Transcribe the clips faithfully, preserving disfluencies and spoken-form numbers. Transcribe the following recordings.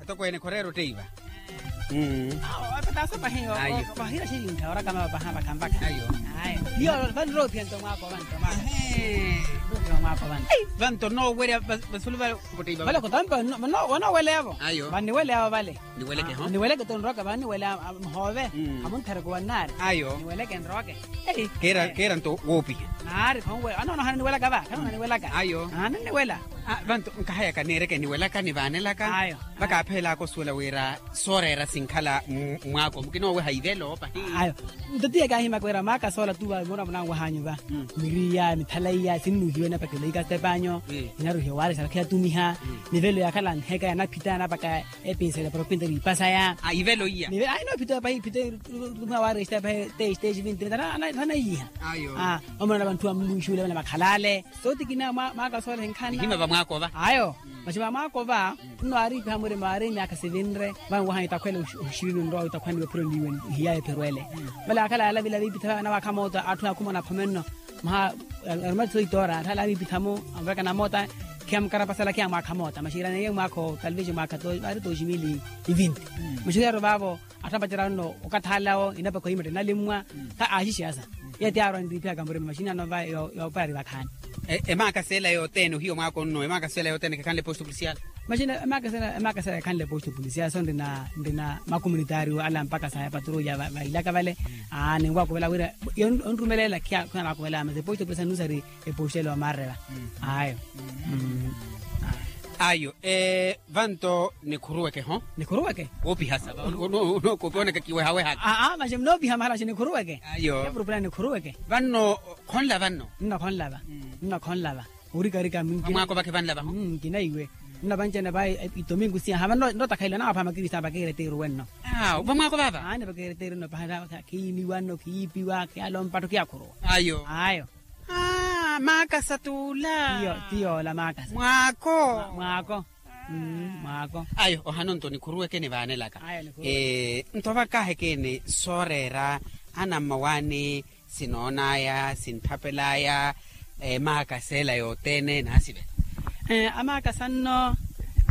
Tokweene khoreera otteiva. Awo apetaso pahi. Ayo. Pahira xirinkha orakama paha vakhampakha. Ayo. Ayo. Iyo vanroophiya nto mwaako vanto mwaako. Roophiya mwaako vanto. Vanto noowerya vasulu vale. Vale kotampa. Vanoweleyavo. Ayo. Vaniweleyavo vale. Niweleke ho. Niweleke to nroka vaniwele. Mhoove. Amunthareke wannaari. Ayo. Niweleke nroke. Keera nto woopiha. Naari khonwe anonohana niwelaka va khanona niwelaka. Ayo. Ananiwela. Vanto nkahayaka neereke niwelaka nivaanelaka. Ayo. Vakaaphela akosuwela wira sooreera sinkhala. Mwaako mukina oweha ivelo pahi. Ayo. Nto tiye kaahimaka wira maaka soola tuva moona munanwahanyu va. Miriya mithalaiya sinnuhiwe napakelo ikastepanyo. Inaruhiwa waari sarakhi yatumiha. Nivelo yakhala nheka yanaphita napaka. Epinsele propinta niipasaya. Ivelo iya. Ayi noophita pahi phita. Tumiha waari estepahi teshi teshi vinti vinti. Anaiyiha. Ayo. Omona na vanthu vamuluwixiwile vale vakhalale. Sooti kina mwaaka soola enkhanna. Ihima vamwaakova. Ayo. Maxi vamwaakova. Nno aariipiha murima aari myaakha sivinre. Vanwaha itakhwele oxivivi nrowa itakhwaniwe phuroniwe. Ihiyaye phirwele. Vale akhala yalavila viipitha vanawaakha moota atthu akhumona aphomenno. Mwaha arumati soitoora atthu ale aviipitha-mo. Anvekana moota. Khiyamukarapasala khiyamwaakha moota maxi iraneiye mwaakha talvesi mwaakha. Ari toximili ivinti. Maxi yaro vaavo. Atthu apacerya nno okathalawo inapakha ohimatta inalimmwa. Kha aaxixiyasa. Iye ti aarwa nriiphiyaka murima maxini ano va. Yoopari vakhaani. Emaakasela yothene ohiyo mwaako nno emaakasela yothene khekhanle posto polisial. Maxini emaakasela ekhanle posto polisial so nrina nrina makomunitario ala mpakasa ya patrulla vailaka vale. Ninwaakuvela wira onrumelela khiya khunanwaakuvela masi posto polisial nusari. Eposto ele omarreva. Ayo. Ayo. Vanto nikhuruweke ho. Nikhuruweke. Woopihasa va onookopi onakakiwehawehaka. Aa maxi munoopiha mahala maxi nikhuruweke. Ayo. Epurupula nikhuruweke. Vanno khonlava nno. Nno khonlava. Nno khonlava. Orikarika mwaako vakhe vanlava ho. Nkinaiwe. Nno vanci-ene va itomingu siyaha vanno nnotakhaile anawaapha makirista vakiireteeru wenno. Vamwaako vava. Aani vakiireteeru nno paha. Khiiniwa nno khiipiwa khiyalompa atthu khiyakhuruwa. Ayo. Ayo. Maakasa t'ula. Tiyoola maakasa mwaako. Mwaako. Mwaako. Ayo ohano nto nikhuruweke nivaanelaka. Nto vakahekeni sooreera anammawaani sinoonaya sintthapelaya. Maakasa ela yothene naasivela. Amaakasa nno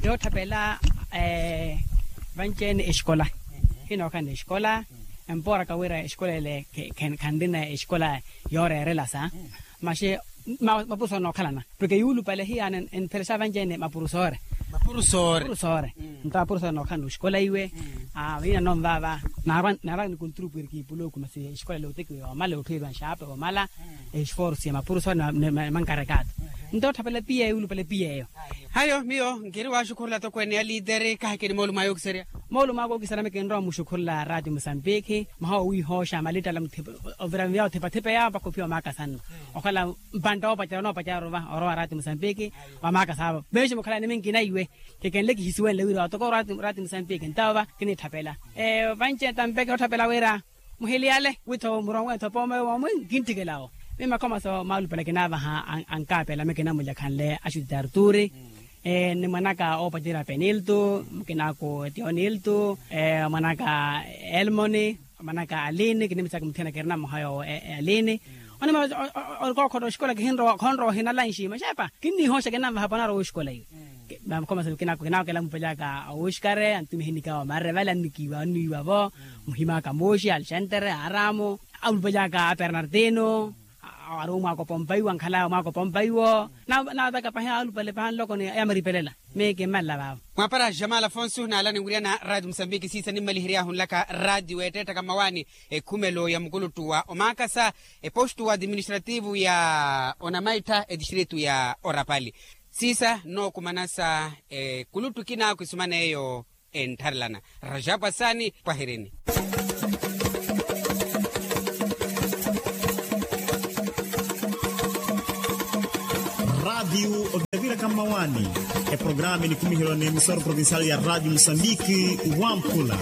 yootthapela vanci-ene exikola. Hinookhalana exikola. Empooraka wira exikola ele khanrina exikola yooreerelasa. Maxi mapurusu anookhalana porke yuulupale hiyaana enpheresa vanci-ene mapurusu oore. Mapurusu oore. Nto mapurusu anookhalana oxikola iwe. Viina nonvaava naarwa nikunturu pwiriki ipulooku masi exikola ele otekiwa yoomala otthuweriwa nxaape yoomala. Esforsu ya mapurusu oore. Mankarekaatu nto otthapela piya yuulupale piya eyo. Hayo miyo nkiri waaxukhurula tokweene ya liiteri kahekeni moolumo ayo okiserya. Moolumo aka okiserya mikinrowa muxukhurula raati musambikhi. Mwaha owiihooxa malittala ovira miya othipathipa ya mpakha ophiya omaakasa nno. Okhala mpantta oopacerya onoopacerya orova orowa raati musambikhi. Wamaakasa avo meexi mukhalani minkina iwe. Kekenle kihisiwenle wira watoka orati musambikhi ntawo va kiniitthapela. Vanci-ene tampeke otthapela wira muhiliyale witho muronwe tho pooma yoowo mwi nkintthikela wo. Miyo makhoma so maalupale kinaavaha ankaapela mikinamulya khanle axuti tarturi. Ni mwanaka oopacerya penilto mukinaku tionilto mwanaka elmoni. Mwanaka alini kinimitsaka muthiyana kirina mmoha yoowo alini. Onima orikookhota oxikola kihinrowa khonrowa ohina lanxi maxepa kinniihooxa kinanvaha panarowa oxikola iwe. Makhoma so kinaakela mupalyaka awuxikare antumiha enikaawo marre vale annikiiwa anniiwa-vo. Muhimaka muuxi alexantere aaramu amupalyaka abernardino. Ari omwaako pompaiwo ankhalaya omwaako pompaiwo. Naataka pahi alupale pahi anloko ni yamaripelela. Miyo kimmanla vaavo. Mwaapara jamal afonso naala ninwiriyana raati musambiki siisa nimmalihery'ahu nlaka raati weetteetthaka mmawaani. Ekhumelo ya mukuluttu wa omaakasa epostu administrativu ya onamaittha etistritu ya orapali. Siisa nnookumanasa ekuluttu kinaakhu esuman'eyo. Enttharelana rajapu asaani pwahirini. Radiu oviravira ka mmawaani. Eprograma enikumiherwa n'emisoro provincial ya radiu musambiki wampula.